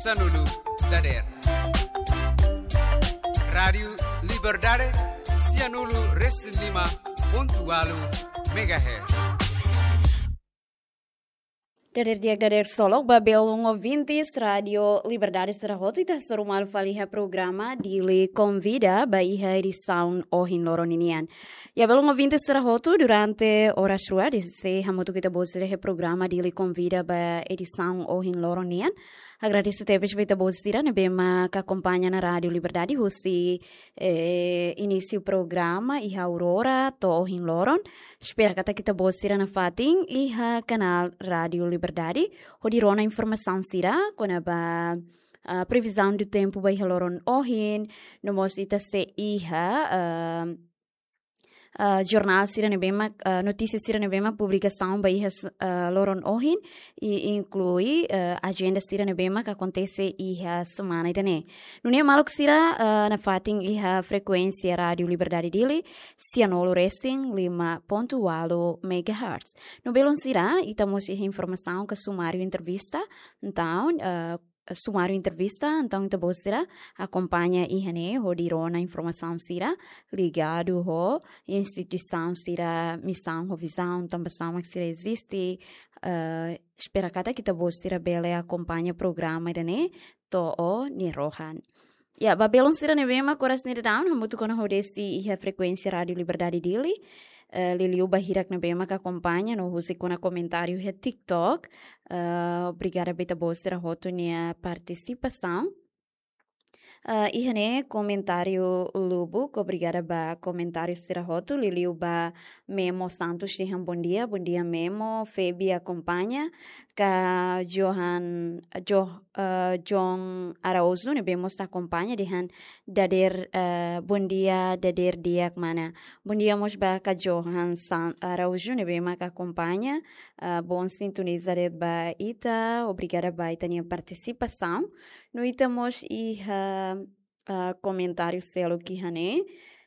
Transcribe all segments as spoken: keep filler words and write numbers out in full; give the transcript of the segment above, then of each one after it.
Sanulu dader. Rádiu Liberdade, sianulu resin lima pontu ualu megahertz. Dader di'ak, dader solok ba belun ouvintes Rádiu Liberdade sira hotu, ita hasoru malu fali iha programa Dili Konvida ba iha edisaun ohin loron ninian. Ya, belun ouvintes sira hotu, durante oras rua, desde hamutuk ita-boot sira iha programa Dili Konvida ba edisaun ohin loron nian. Agradese tebes ba ita-boot sira ne'ebé mak akompaña ona Rádiu Liberdade husi, eh, inísiu programa iha aurora to'o ohin loron. Espera katak ita-boot sira nafatin iha kanál Rádiu Liberdade hodi rona informasaun sira kona-ba, ah, previsão do tempo ba iha loron ohin, no mós ita sei iha, ah, ah, jornál sira ne'ebé mak, ah, notísia sira ne'ebé mak publikasaun ba iha s-, ah, loron ohin, i inklui, ah, ajenda sira ne'ebé mak akontese iha semana ida-ne'e. Nune'e maluk sira, ah, nafatin iha frekuénsia Rádiu Liberdade Dili, sianulu resin lima pontu ualu megahertz. No belun sira, ita mós iha informasaun ka sumáriu entrevista, entaun, ah, sumáriu entrevista, entaun ita-boot sira akompaña iha ne'e hodi rona informasaun sira ligadu ho instituisaun sira, misaun ho vizaun, tanba sá mak sira eziste, eh, espera katak ita-boot sira bele akompaña programa ida-ne'e to'o nia rohan. Ya, ba belun sira ne'ebé mak oras ne'e daudaun hamutuk ona hodi sei iha frekuénsia Rádiu Liberdade Dili, eh, liuliu ba hirak ne'ebé mak akompaña no husik ona komentáriu iha TikTok. Eh, obrigada ba ita-boot sira hotu nia partisipasaun. Eh, iha ne'e komentáriu lubuk, obrigada ba komentáriu sira hotu, liuliu ba Memo Santos dehan bondia, bondia Memo, Febi akompaña, ka Johan, Jo-, eh, John Araújo ne'ebé mós akompaña dehan dader, eh, bondia, dader di'ak mana. Bondia mós ba ka Johan San-, Araújo ne'ebé mak akompaña, eh, bom sintoniza de'it ba ita, obrigada ba ita-nia partisipasaun. No ita mós iha, eh, komentáriu seluk iha ne'e,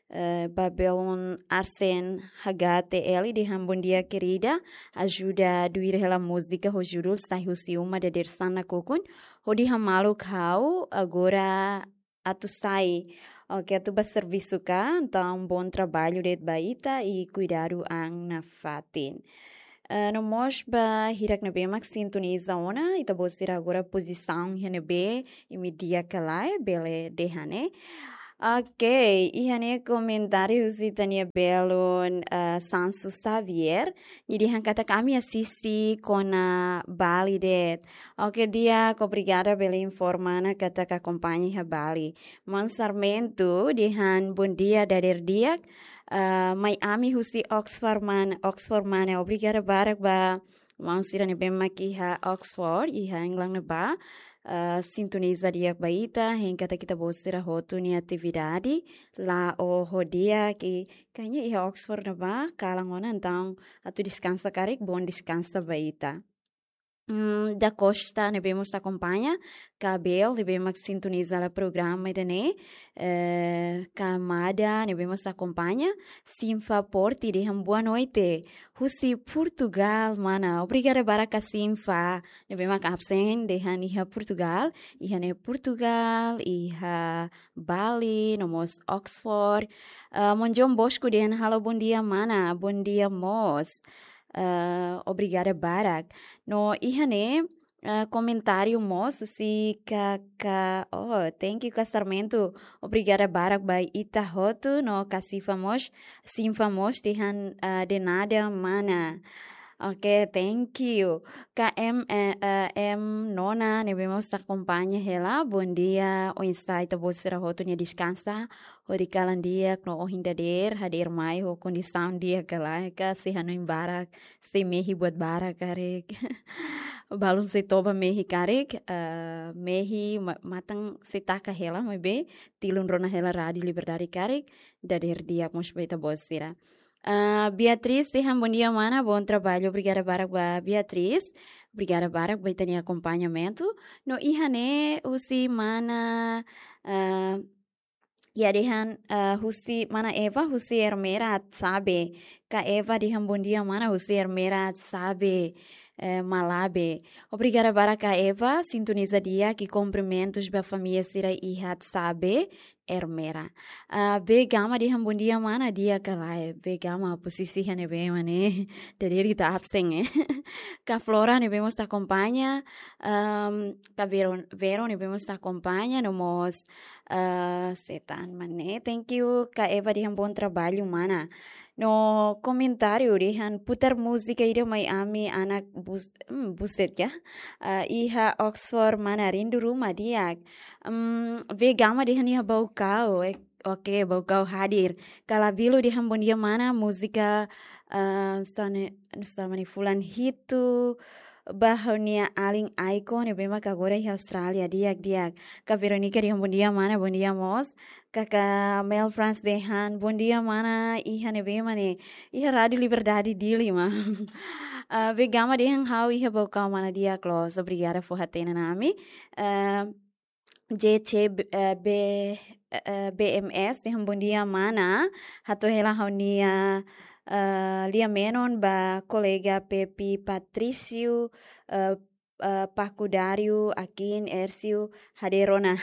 eh, ba belun Arsen H T L dehan bondia querida, ajuda tuir hela múzika ho judul Sai Husi Uma Dadeer-san Nakukun, hodi hamaluk ha'u agora atu sai. Oke, atu ba servisu ka, entaun bom trabalho de'it ba ita i kuidadu an nafatin. Eh, no mós ba hirak ne'ebé mak sintoniza ona, ita-boot sira agora pozisaun iha ne'ebé, imi di'ak ka lae, bele dehan ne'e. Oke, iha ne'e komentáriu husi ita-nia belun, eh, Sansu Xavier, nia dehan katak ami asiste kona Bali de'it. Oke, di'ak, obrigada bele informa ona katak akompaña iha Bali. Maun Sarmento dehan bondia dader di'ak, ah, mai ami husi Oxford mana, Oxford mana. Obrigada barak ba maun sira ne'ebé mak iha Oxford, iha England ne'ebá, ah, sintoniza di'ak ba ita, hein katak ita-boot sira hotu nia atividade la'o ho di'ak, kayaknya iha Oxford ne'ebá kalan ona, entaun atu deskansa karik, bom deskansa ba ita. Mm, Da Costa ne'ebé mós akompaña, Kabel ne'ebé mak sintoniza hela programa ida-ne'e, eh, Kamada ne'ebé mós akompaña, Sinfa Porti dehan boa noite, husi Portugal mana. Obrigada barak ka Sinfa ne'ebé mak absen dehan iha Portugal, iha ne'e Portugal, iha Bali, no mós Oxford. Eh, Monjon Bosco dehan halo bondia mana, bondia mós. Eh, obrigada barak. No iha ne'e, eh, komentáriu mós husi ka, ka, oh, thank you ka Sarmento. Obrigada barak ba ita hotu, no ka Sinfa mós, Sinfa mós dehan, eh, de nada mana. Oke, thank you. Ka M, eh, eh, M Nona ne'ebé mós akompaña hela, bondia, oinsá ita-boot sira hotu nia deskansa, hodi kalan di'ak no ohin dadeer, hadeer mai ho kondisaun di'ak ka lae, ka sei hanoin barak, sei mehi buat barak karik. Balun sei toba mehi karik, eh, mehi ma-, matan sei taka hela, maibé tilun rona hela Rádiu Liberdade karik, dadeer di'ak mós ba ita-boot sira. Ah, Beatriz dehan bondia mana, bom trabalho, obrigada barak ba Beatriz, obrigada barak ba ita-nia akompañamentu. No iha ne'e husi mana, ah, ya dehan, ah, husi mana Eva, husi Ermera Atsabe. Ka Eva dehan bondia mana, husi Ermera Atsabe. eh, Malabe. Obrigada barak Eva, sintoniza di'ak, i kumprimentus ba família sira iha Sabe, Ermera. Ah, Be Gama dehan bondia mana, di'ak ka lae? Be Gama posisi iha ne'ebé mak ne'e? Dadeer ita absen, eh. Ka Flora ne'ebé mós akompaña, ehm, ka Vero, Vero ne'ebé mós akompaña, no mós, eh, Setan mak ne'e. Thank you, ka Eva dehan bom trabalho, mana. No komentáriu dehan putar múzika ida mai ami anak bus-, hmm, buset ya. Ah, iha Oxford mana, rindu ruma di'ak. Hmm, Be Gama dehan iha Baucau, eh, oke, Baucau hadir. Ka Labilo dehan bondia mana, múzika, ah, sane, sane fulan hitu, ba ha'u-nia alin Aiko ne'ebé mak agora iha Austrália, di'ak, di'ak. Ka Veronica dehan bondia mana, bondia mós. Kaka Mel France dehan, bondia mana, iha ne'ebé mak ne'e? Iha Rádiu Liberdade Dili mak. Ah, Be Gama dehan ha'u iha Baucau mana, di'ak loos, obrigada fó hatene ona ami. Ah, J C B, eh, B, eh, B M S dehan bondia mana, hato'o hela ha'u-nia, eh, lia-menon ba kolega Pepi Patrício, eh, eh, Pacudário, Akin, Ércio, hadeer ona.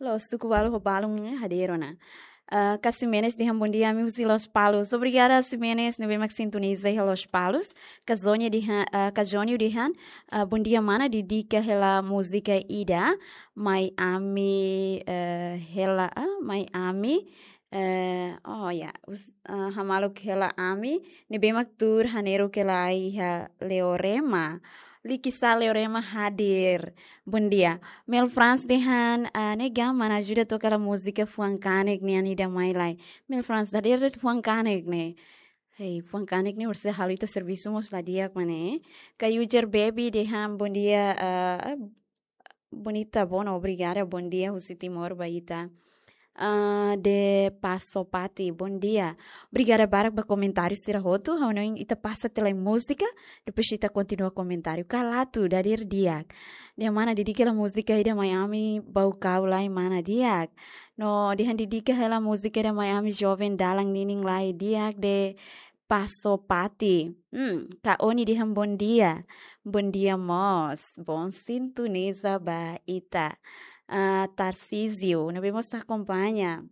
Loos, suku balu ho balun, eh, hadeer ona. Ah, ka Ximenes dehan bondia, ami husi Lospalos. Obrigada, Ximenes, ne'ebé mak sintoniza iha Lospalos. Ka Zónia dehan, ah, ka Jónio dehan, ah, bondia mana, dedika hela múzika ida mai ami, eh, hela, ah, mai ami, eh, oh ya, us-, ah, hamaluk hela ami, ne'ebé mak tuur haneru hela iha Leorema. Likisá Leorema hadir. Bondia. Mel France dehan, ah, ne'e Gama mana, ajuda toka hela múzika fuan kanek nian ida mai lai. Mel France, dadeer de'it fuan kanek ne'e. Hei, fuan kanek ne'e orsida halo ita servisu mós la di'ak mak ne'e. Ka Ujer Baby dehan bondia, ah, bonita, bona, obrigada, bondia husi Timor ba ita. Ah, de Passo Pati, bondia. Obrigada barak ba komentáriu sira hotu, ha'u hanoin ita pasa tiha lai múzika, depois ita kontinua komentáriu. Ka Latu, dadeer di'ak. Dehan mana, dedika hela múzika ida mai ami, Baucau lai mana, di'ak. No dehan dedika hela múzika ida mai ami, joven dalan ninin lai, di'ak, de Passo Pati. Hmm, ka Oni dehan bondia. Bondia mós. Bom sintoniza ba ita. Ah, Tarcísio, ne'ebé mós akompaña.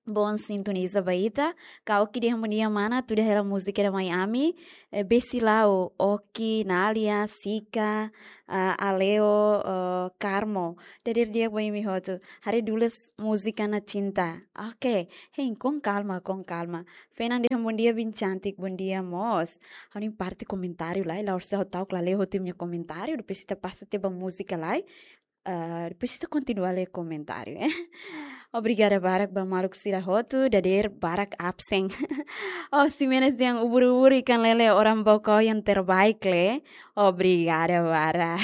Bom sintoniza ba ita. Ka Oki dehan bondia mana, tuda hela múzika ida mai ami. Eh, Besilau, Oki, Nália, Sika, ah, Aleo, eh, Carmo. Dadeer di'ak ba imi hotu. Haree dulu múzika na cinta. Oke. Hein, com calma, com calma. Fernanda dehan bondia, Bin Cantik, bondia mós. Ha'u-nia parte komentáriu lai, la'ós ha'u ta'uk la lee hotu imi-nia komentáriu, depois ita pasa tiha ba múzika lai. Ah, depois ita kontinua lee komentáriu, eh. Obrigada barak ba maluk sira hotu, dadeer barak absen. Oh, Ximenes dehan ubur-ubur ikan lele orang Baucau yang terbaik le. Obrigada barak.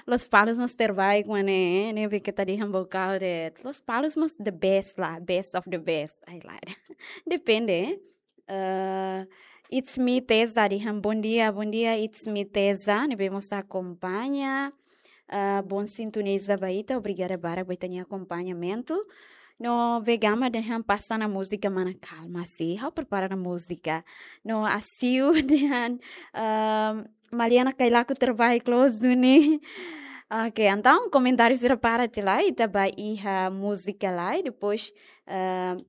Lospalos mós terbaik mak ne'e, ne'ebé ita dehan Baucau de'it. Lospalos mós the best lah, best of the best. Ai lah. Depende, eh. Eh, It's Me Teza dehan bondia, bondia, It's Me Teza, ne'ebé mós akompaña. Eh, bom sintoniza ba ita, obrigada barak ba ita-nia akompañamentu. No Be Gama dehan pasa ona múzika mana, kalma sih, ha'u prepara ona múzika. No Asiu dehan, ehm, Maliana Kailaku terbaik loos duni. Oke, entaun komentáriu sira para tiha lai, ita ba iha múzika lai, depois, ehm,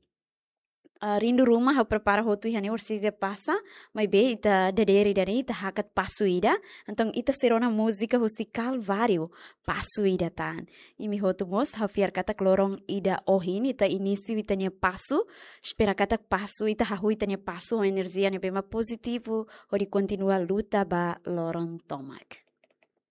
ah, rindu ruma ha'u prepara hotu iha ne'e orsida pasa, maibé ita dadeer ida-ne'e ita hakat pasu ida, entaun ita sei rona múzika husi Kalváriu, pasu ida tan. Imi hotu mós, ha'u fiar katak loron ida ohin ita inísiu ita-nia pasu, espera katak pasu, ita hahú ita-nia pasu ho enerjia ne'ebé mak pozitivu, hodi kontinua luta ba loron tomak.